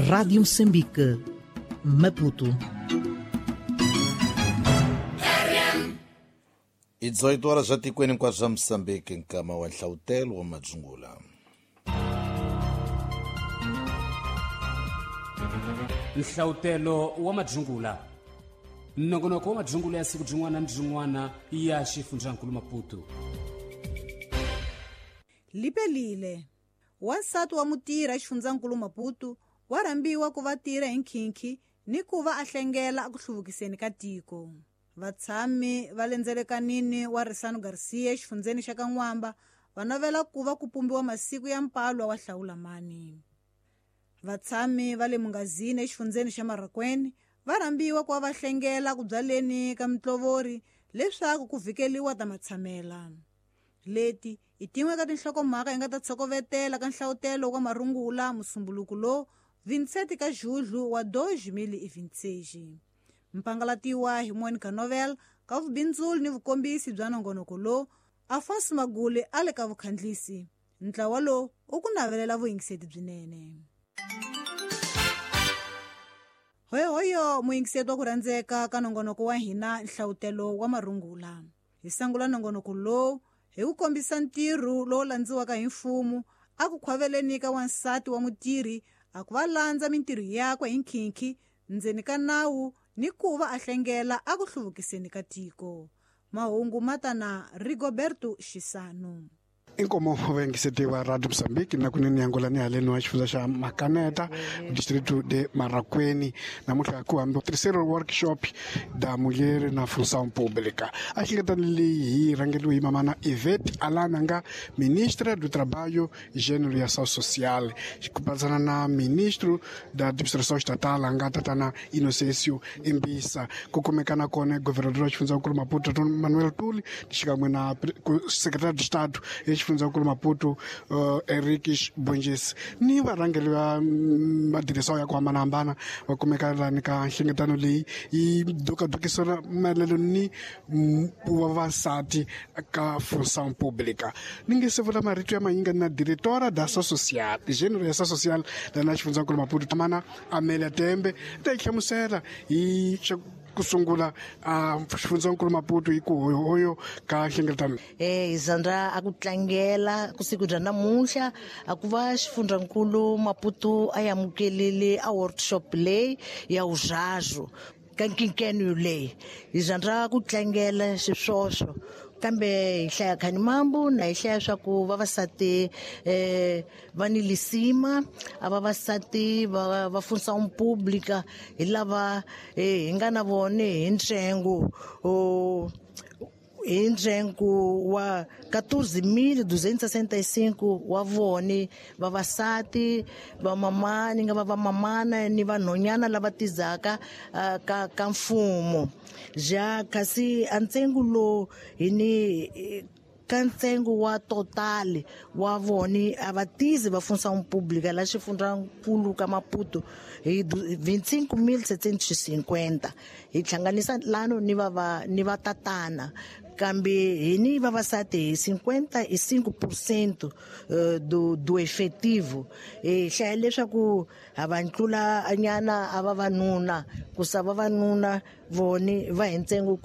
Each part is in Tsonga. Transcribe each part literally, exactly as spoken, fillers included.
Rádio Moçambique, Maputo. I dezoito horas já tikweni hinkwaswo swa Moçambique, nkama wa Nhlawutelo wa Madzungula. Nhlawutelo wa Madzungula. Nongonoko wa Madzungula ya siku byin'wana ni byin'wana ya xifundzankulu Maputo. Lipelile. Wansati wa mutirhi exifundzankulu Maputo wa rhambiwa ku va tirha hi nkhinkhi ni ku va a hlengela eku hluvukiseni ka tiko. Vatshami va le ndzelekanini wa Risano Garcia exifundzeni xa Kan'wamba va navela ku va ku pumbiwa masiku ya mpalwa wa Hlawulamani. Vatshami va le Mungazini exifundzeni xa Marraquene va rhambiwa ku va va hlengela ku byaleni ka mitlovori leswaku ku vhikeliwa ta matshamela. Leti i tin'we ka tinhlokomhaka hi nga ta tshokovetela ka nhlawutelo wa marungula musumbuluku lowu vintseti ka Julho wa dois mil e vinte e seis. Mpangalatiwa hi Monica Novel ka vubindzuli ni vukombisi bya nongonoko lowu Afonso Magule a le ka vukhandlisi. Ntlawa lowu u ku navelela vuyingiseti byinene. Hoyohoyo muyingiseti wa ku rhandzeka ka nongonoko wa hina Nhlawutelo wa Marungula. Hi sangula nongonoko lowu hi ku kombisa ntirho lowu landziwaka hi mfumo a ku khwaveleni ka wansati wa mutirhi a ku va landza mintirho yakwe hi nkhinkhi ndzeni ka nawu ni ku va a hlengela a ku hluvukiseni ka tiko. Mahungu matana Rigoberto Xisano. Inkomo vayingiseti wa Radio Moçambique na kunene yangola ni haleni wa xifundza xa Makaneta, distrito de Marraquene. Namuntlha ku hambi terceiro workshop da mulher na função pública. A hlengeletano leyi hi rhangeriwe hi mamana Ivete Alana nga ministra do Trabalho, Gênero e Ação Social, ku patsana na ministro da Administração Estatal nga tatana Inocêncio Imbisa. Ku kumeka na kona governador wa xifundzankulu Maputo Manuel Tuli xikan'we na secretário de Estado xifundzankulu Maputo uh, Henriques Bonges ni varhangeri va madirisa ya ku hambanahambana va kumeka lani ka nhlengeletano leyi yi dokadokisela maelano ni vavasati ka função pública. Ni nge se vula marito ya manyinga na diretora da ação social, gênero ya ação social lana xifundzankulu Maputo Tamana Amélia Tembe ta yi hlamusela hi kusungula a xifundzankulu Maputo hi ku hoyohoyo ka nhlengeletano. Eh Zandra a ku tlangela ku siku bya namuntlha a ku va xifundzankulu Maputo a amukelile a workshop leyi ya uzhazo ka nkinkeno leyi. Hi Zandra ku tlangela xiswoswo kambe hi hlaya khani mambu na hi hlaya swa ku vavasati eh va ni lisima a vavasati va va função pública hi lava hi nga na vone hi ntsengo o hi ntsengo wa quatorze mil duzentos e sessenta e cinco wa vone vavasati vamamani nga va vamamana ni vanhonyana lava tizaka uh, ka ka mfumo. Ja kasi a ntsengo lowu hi ni ka ntsengo wa total wa vone a va tizi va função pública la xifundzankulu ka Maputo hi vinte e cinco mil setecentos e cinquenta. Hi hlanganisa lano ni va va ni va tatana kambe hi ni vavasati hi cinquenta e cinco por cento do do efetivo. Hi hlaya leswaku a va ntlula nyana a vavanuna ku sa vavanuna vone va hi ntsengo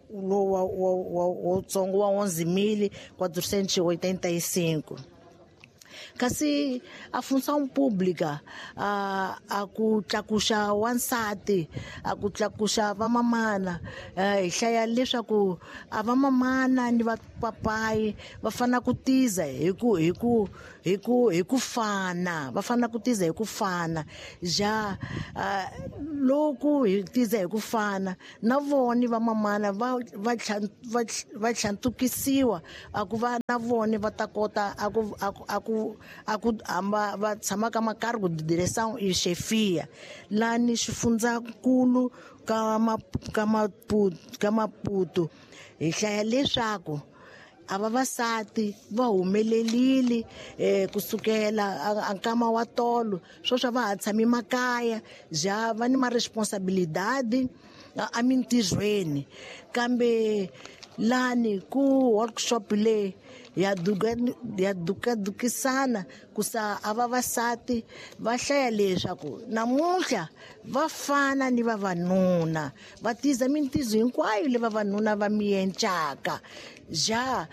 lowu wa wutsongo wa onze mil quatrocentos e oitenta e cinco. Kasi a função pública a a ku tlakuxa wansati a ku tlakuxa vamamana hi hlaya leswaku a vamamana ni vapapayi va fana ku tiza hi ku hi ku hi ku hi ku fana va fana ku tiza hi ku fana ja loko hi tiza hi ku fana na vona vamamana va va va tlhantukisiwa a ku va na vona va ta kota a ku a ku a ku hamba va tshama ka makargo de direção e chefia lani xifundzankulu ka ka Maputo ka Maputo. Hi hlaya leswaku a vavasati va humelelile eh kusukela a nkama wa tolo sweswi va ha tshami makaya ja va ni ma responsabilidade emintirhweni kambe lani ku workshop leyi ya duka ya dukadukisana kusa a vavasati va hlaya leswaku namuntlha va fana ni vavanuna va tiza mintizo hinkwayo le vavanuna va miyencaka ja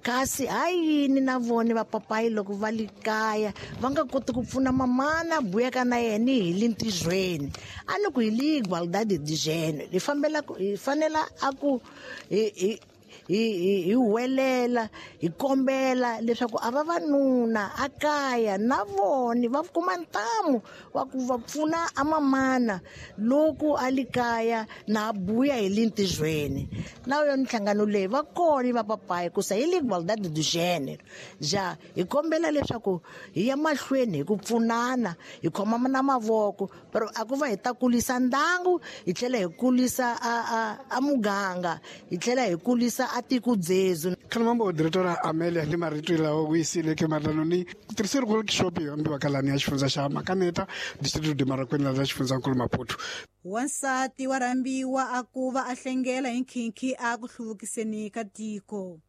kasi ha yini na vona vapapayi loko va li kaya va nga koti ku pfuna mamana buyaka na yena hi le ntirhweni a ni ku hi li igualdade de gênero hi fambela hi fanela a ku hi hi hi hi huwelela hi kombela leswaku a vavanuna a kaya na vona va kuma ntamu wa ku va pfuna a mamana loko a li kaya na buya hi le ntirhweni na yona nhlangano leyi va kona va papayi ku sa hi le igualdade de gênero ja hi kombela leswaku hi ya mahlweni hi ku pfunana hi khoma na mavoko pero a ku va hi ta kulisa ndangu hi tlhela hi kulisa a a a muganga hi tlhela hi kulisa a tiko dzezu. Khalamambo diretora Amelia ni marito lawa ku yisile ke matanoni terceiro workshop yo ambiwa kalani ya xifundza xa Makaneta distrito de Marakwena la xifundzankulu Maputo. Wansati wa rhambiwa a ku va a hlengela hi nkhinkhi a ku hluvukiseni ka tiko.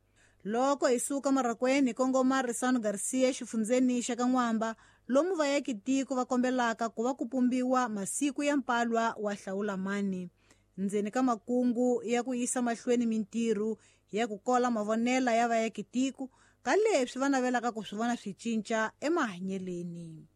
Loko hi suka Marakwena hi kongoma Risano Garcia xifundzeni xa ka N'wamba lomu vayaki tiko va kombelaka ku va ku pumbiwa masiku ya mpalwa wa hlawulamani ndzeni ka makungu ya ku yisa mahlweni mintirho ya ku kola mavonela ya vayaki tiko ka leswi va navelaka ku swi vona swi cinca emahanyeleni.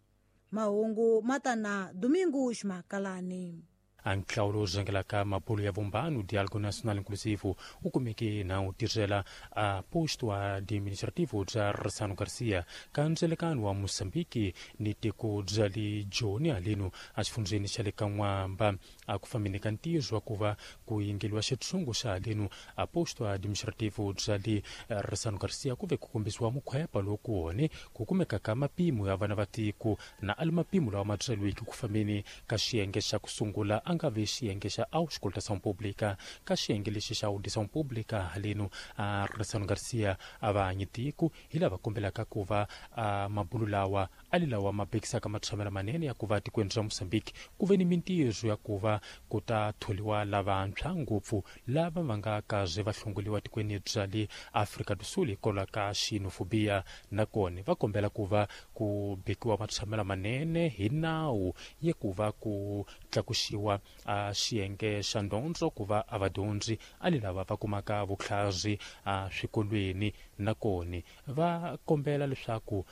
Mahungu matana Domingo Ximakalani. A nhlawulo zengelaka mabulu ya vumbano Diálogo Nacional Inclusivo u kumeke na u tirhela a posto administrativo bya Risano Garcia ka ndzelekano wa Mozambique ni tiko bya le Joni haleno a xifundzeni xa le ka N'wamba a ku fambeni ka ntirho wa ku va ku yingeliwa xitshungu xa haleno a posto administrativo bya le Risano Garcia ku ve ku kombisiwa mukhwepa loku wone ku kumeka ka mapimo ya vana va tiko na ali mapimo lawa ma byeriweke ku fambeni ka xiyenge xa ku sungula a nga ve xiyenge xa auscultação pública ka xiyenge lexi xa audição pública haleno a Risano Garcia a va hanyi tiko hi lava kombelaka ku va a mabulu lawa a li lawa ma bekisaka matshamela manene ya ku va tikweni ra Mozambique ku ve ni mintirho ya ku va ku ta tholiwa lavantshwa ngopfu lava va nga kaze va hlongoliwa tikweni bya le Afrika do Sul hikwalaho ka xenofobia nakona va kombela ku va ku bekiwa matshamela manene hi nawu ya ku va ku tlakuxiwa a xiyenge xa ndondzo ku va a vadyondzi a li lava va kumaka vutlhari a swikolweni nakona va kombela leswaku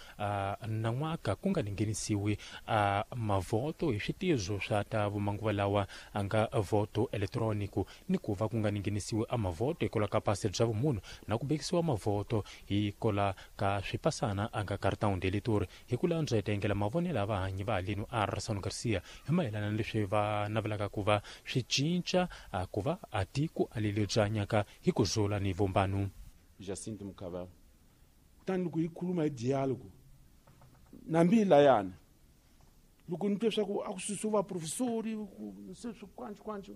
nan'waka ku nga nghenisiwi a mavoto hi switizo swa ta vumanguva lawa a nga voto elektroniko ni ku va ku nga nghenisiwi a mavoto hikwalaho ka pasi bya vumunhu na ku bekisiwa mavoto hikwalaho ka swipasana a nga cartão de eleitor hi ku landza hi tengela mavonelo ya vahanyi va haleno a Risano Garcia hi mayelana na leswi va navelaka ku va swi cinca a ku va a tiko a leli bya nyaka hi ku zula ni vumbano. Jacinto Mukaba kutani loko hi khuluma hi diálogo nambi layana loko ni twe swa ku a ku susiwa vaprofesori se swi kwanci kwanci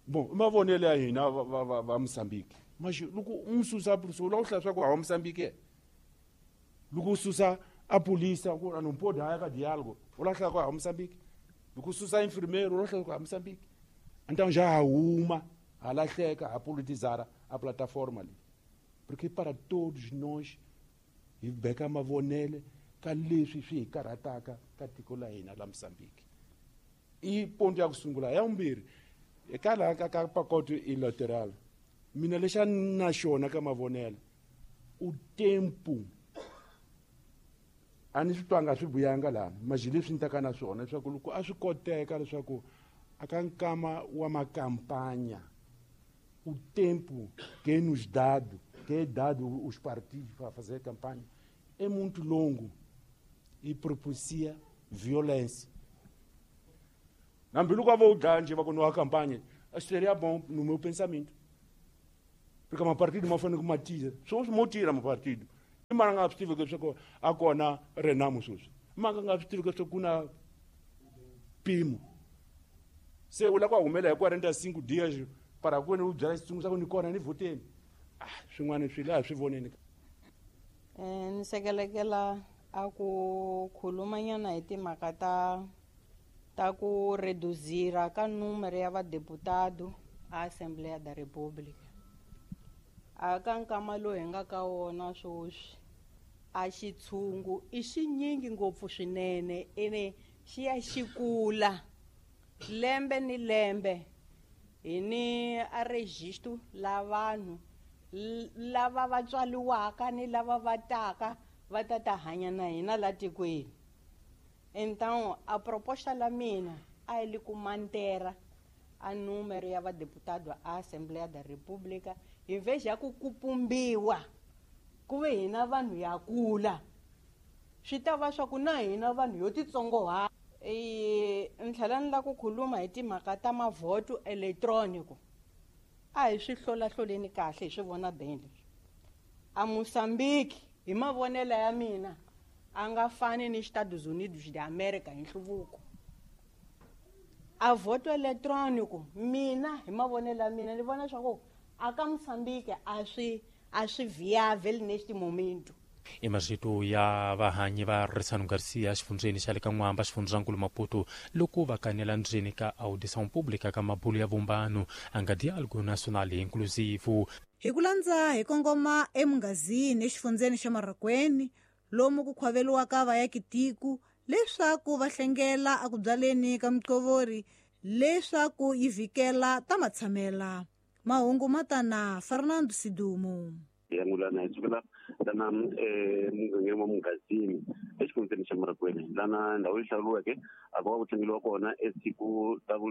bon i mavonelo ya hina va va va Mozambique maxi loko u n'wi susa professor u la ku hlaya swa ku hawa Mozambique loko u susa a polisa ku a não pode haya ka diálogo u la hlaya ku hawa Mozambique loko u susa enfermeiro u la hlaya ku hawa Mozambique então já huma ha lahleka ha politizar a plataforma leyi porque para todos nós hi beka mavonelo ka leswi swi hi karhataka ka tiko la hina la Mozambique i ponto ya ku sungula ya vumbirhi eka laha ka ka pacote eleitoral mina lexa na xona ka mavonelo u tempo a ni swi twanga swi vuyanga laha maji leswi ni taka na swona leswaku loko a swi koteka leswaku a ka nkama wa makampanya o tempo que é nos dado, que é dado os partidos para fazer campanha, é muito longo e propicia violência. Nambi loko a vo dlaya njhe va ku nwa campanha, seria bom no meu pensamento. Porque mapartido ma fanele ku ma tira, swo mo tira mapartido. I mara nga swi tivi leswaku a kona Renamo sweswi. Mara nga swi tivi leswaku ku na Pimo. Se u lava ku humela hi quarenta e cinco dias para ku u byala xitsungu xa ku ni kona ni vhoteni. Ah, swin'wana swi laha swi voneni. Eh ni sekelekela a ku khulumanyana hi timhaka ta ta ku reduzira ka numero ya vadeputado a Assembleia da República. A ka nkama lowu hi nga ka wona sweswi A xitshungu i xinyingi ngopfu swinene ene xi ya xi kula lembe ni lembe. Hi ni a registro la vanhu lava va tswaliwaka ni lava va taka va ta ta hanya na hina la tikweni. Então a proposta la mina a yi li ku mantera a número ya vadeputado a Assembleia da República hi vez ya ku kupumbiwa ku ve hina vanhu ya kula swi ta va swa ku na hina vanhu yo titsongoha. E ni tlhela ni la ku khuluma hi timhaka ta mavhoto eletronico. A hi swi hlolahloleni kahle hi swi vona beni leswi. A Mozambique hi mavonelo ya mina a nga fani ni Estados Unidos de America hi nhluvuko. A voto eletronico mina hi mavonelo ya mina ni vona swa ku a ka Mozambique a swi a swi viável neste momento. I marito ya vahanyi va Risano Garcia xifundzeni xa le ka N'wamba xifundzankulu Maputo loko va kanela ndzeni ka audição pública ka mabulu ya vumbano a nga diálogo nacional inclusivo. Hi ku landza hi kongoma emungazini exifundzeni xa Marraqueni lomu ku khwaveliwaka vayakitiku leswaku va hlengela a ku byaleni ka miqovori leswaku yi vhikela ta matshamela. Mahungu matana Fernando Sidumo. Yangulana hi sukela lana mugangeni wa Mungazini exifundzeni xa Marraqueni lana ndhawu yi hlawuriweke a ku va ku tlangeliwa kona esiku ta ku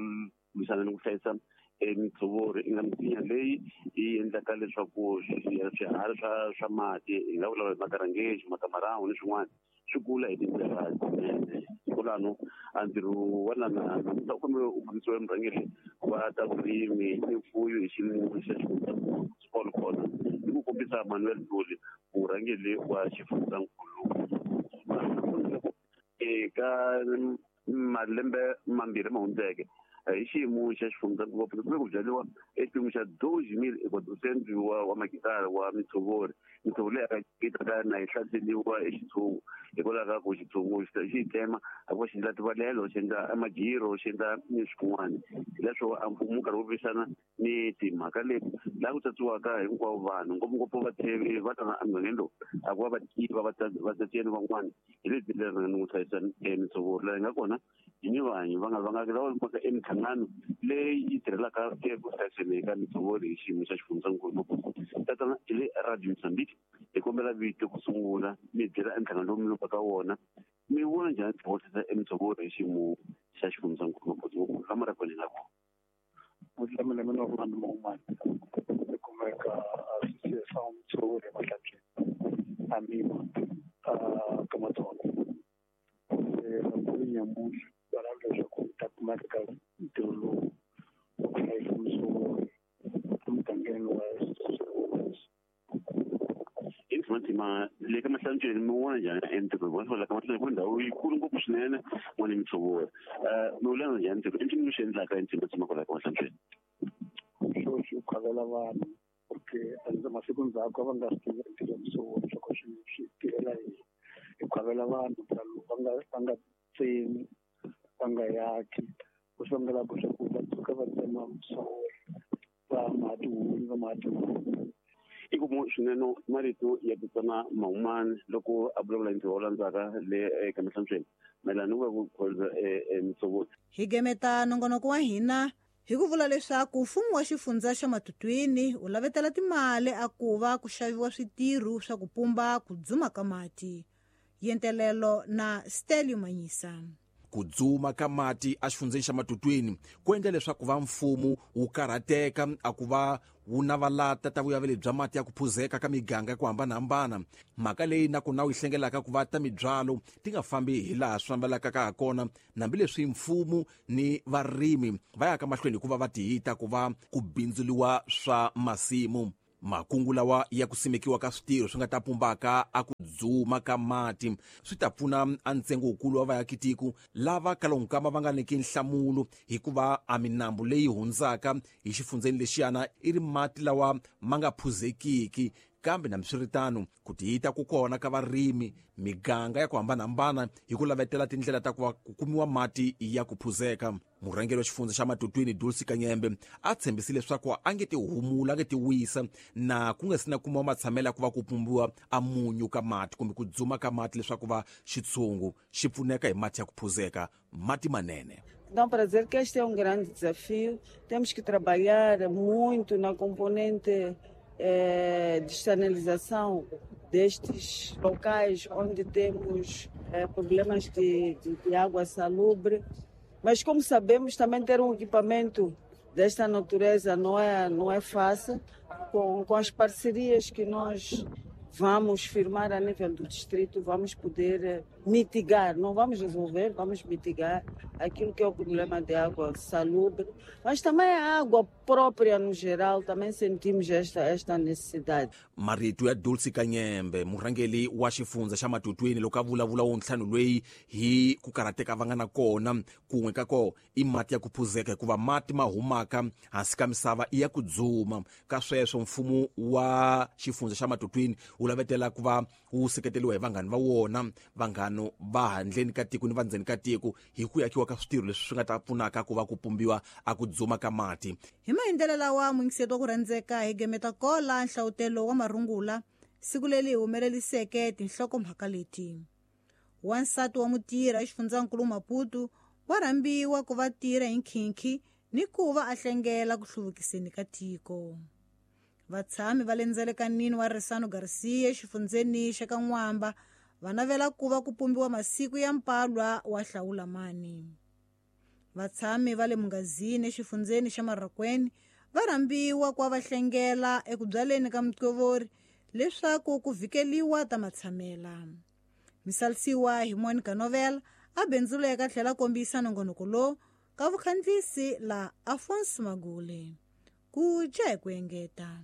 lwisana ni ku hlayisa mitshovori i nga misinya leyi yi endlaka leswaku swiharhi swa swa mati hi nga vulavula hi makarangeji makamarhawu ni swin'wana swi kula hi tindlela tinene. Kwalano a ntirho wa lana namuntlha u kombela u fambisiwa murhangeri wa ta vurimi ni mfuyo hi xiyimo xa xifundzankulu kona ni ku kombisa Manuel Nduli murhangeri wa xifundzankulu eka malembe mambirhi ma hundzeke hi xiyimo xa xifundzankulu kumbe ku byariwa exipimo xa doze mil equatrocento wa wa makitara wa mitshovori. Mitshovo leyi yi ta na yi hlaseriwa hi xitshungu hikwalaho ka ku xitshungu xi yi tsema a ku xi endla tivalelo xi endla amajiro xi endla ni swin'wana. Hileswo a mfumo wu karhi wu lwisana ni timhaka leti laha ku tsatsiwaka hinkwavo vanhu ngopfungopfu vatshevi va tana emugangeni lowu a ku va va tiva vatsetseni van'wana hi lebyi leri ni ku hlayisa mitshovori laha yi nga kona hi ni vanhu va nga va nga lava mhaka emihlangano leyi yi tirhelaka eku hlayiseni ka mitshovori hi xiyimo xa xifundzankulu Maputo. Tatana hi le Radio Mozambique hi kombela vito ku sungula mi byela emhlangano lowu mi lupaka ka wona mi vona njhani tihohlisa emitshovori hi xiyimo xa xifundzankulu Maputo la Marraqueni nga kona. Mina mina Orlando Mahumani hi kumeka Associação Mitshovori Emahlanjeni Amima ka Matsonga. Se nyamuntlha va lava leswaku hi ta kumeka ka ntirho lowu wa ku hlayisa mitshovori emugangeni wa Ntima le ka Mahlanjeni mi vona njhani entirho wa la ka Mahlanjeni ku ndhawu yikulu ngopfu swinene n'wana mitshovori mi vula njhani ntirho i ncini mi swi endlaka ntima tshama kwala ka Mahlanjeni? Xo xi khwavela vanhu porque masiku ndzhaku a va nga swi tivi ntirho mitshovori leswaku swi swi tirhela yini. Hi khwavela vanhu va nga va nga tsemi va nga yaki ku swi vangelaka leswaku va tshuka va tsema mitshovori va maha tihunyi va maha tihunyi. I ku swinene marito ya Tatana Mahumani loko a vulavula hi ntirho wo landzaka le eka Mahlanjeni mayelana ni ku va ku khweza mitshovori. Hi gemeta nongonoko wa hina hi ku vula leswaku mfumo wa xifundza xa Matutwini wu lavetela timali a ku va ku xaviwa switirho swa ku pumba ku dzuma ka mati. Yentelelo na Stelio Manyisa. Ku dzuma ka mati exifundzeni xa Matutwini ku endla leswaku va mfumo wu karhateka a ku va wu navalata ta vuyaveli bya mati ya ku phuzeka ka miganga ya ku hambanahambana. Mhaka leyi na ku na wu yi hlengelaka ku va ta mibyalo ti nga fambi hi laha swi fambelaka ka ha kona hambileswi mfumo ni varimi va yaka mahlweni hikuva va tihita ku va ku bindzuliwa swa masimu. Makungu lawa ya ku simekiwa ka switirho swi nga ta pumbaka a ku dzuma ka mati swi ta pfuna a ntsengo wukulu wa vaakitiko lava kalonkama va nga nyiki nhlamulo hikuva a minambu leyi hundzaka hi xifundzeni lexiyana i ri mati lawa ma nga phuzekiki Kambe nambiswiritano ku tiyita ku kona ka varimi miganga ya ku hambanahambana hi ku lavetela tindlela ta ku va ku kumiwa mati ya ku phuzeka. Murhangeri wa xifundza xa Matutwini Dulce Kanyembe a tshembisile leswaku a nge ti humula a nge ti wisa na ku nga si na kumiwa matshamelo ya ku va ku pumbiwa a munyu ka mati kumbe ku dzuma ka mati leswaku va xitshungu xi pfuneka hi mati ya ku phuzeka, mati manene. Então, para dizer que este é um grande desafio, temos que trabalhar muito na componente eh, de externalização destes locais onde temos eh, problemas de, de, de água salubre. Mas, como sabemos, também ter um equipamento desta natureza não é, não é fácil. Com, com as parcerias que nós vamos firmar a nível do distrito, vamos poder mitigar, não vamos resolver, vamos mitigar aquilo que é o problema de água salubre, mas também a água própria no geral, também sentimos esta, esta necessidade. Marito ya Dulce Kanyembe, murhangeri wa xifundza xa Matutwini, loko a vulavula wo ntlhanu loyi hi ku karhateka va nga na kona kun'we ka ko i mati ya ku phuzeka, hikuva mati ma humaka hansi ka misava i ya ku dzuma. Ka sweswo mfumo wa xifundza xa Matutwini wu lavetela ku va wu seketeriwa hi vanghani va wona, vanghano va handleni ka tiko ni va ndzeni ka tiko, hi ku yakiwa ka switirho leswi swi nga ta pfunaka ku va ku pumbiwa a ku dzuma ka mati. Hi maendlelo lawa muyingiseti wa ku rhandzeka hi gemeta kola nhlawutelo wa marungula siku leri hi humeleliseke tinhlokomhaka leti. Wansati wa mutirhi exifundzankulu Maputo wa rhambiwa ku va tirha hi nkhinkhi ni ku va a hlengela ku hluvukiseni ka tiko. Vatshami va le ndzelekanini wa Risano Garcia exifundzeni xa ka N'wamba va navela ku va ku pumbiwa masiku ya mpalwa wa hlawulamani. Vatshami va le Mungazini exifundzeni xa Marraquene va rhambiwa ku va hlengela eku byaleni ka muqovori leswaku ku vhikeliwa ta matshamela. Misalisiwa hi Monica Novel a bindzuleka tlhela kombisa nongonoko lowu ka vukhandziyisi la Afonso Magule. Ku dya hi ku engeta.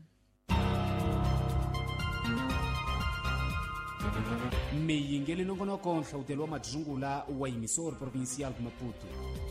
Miyingeli nongonoko nhlawutelo wa madzungula wa Emissor Provincial Maputo.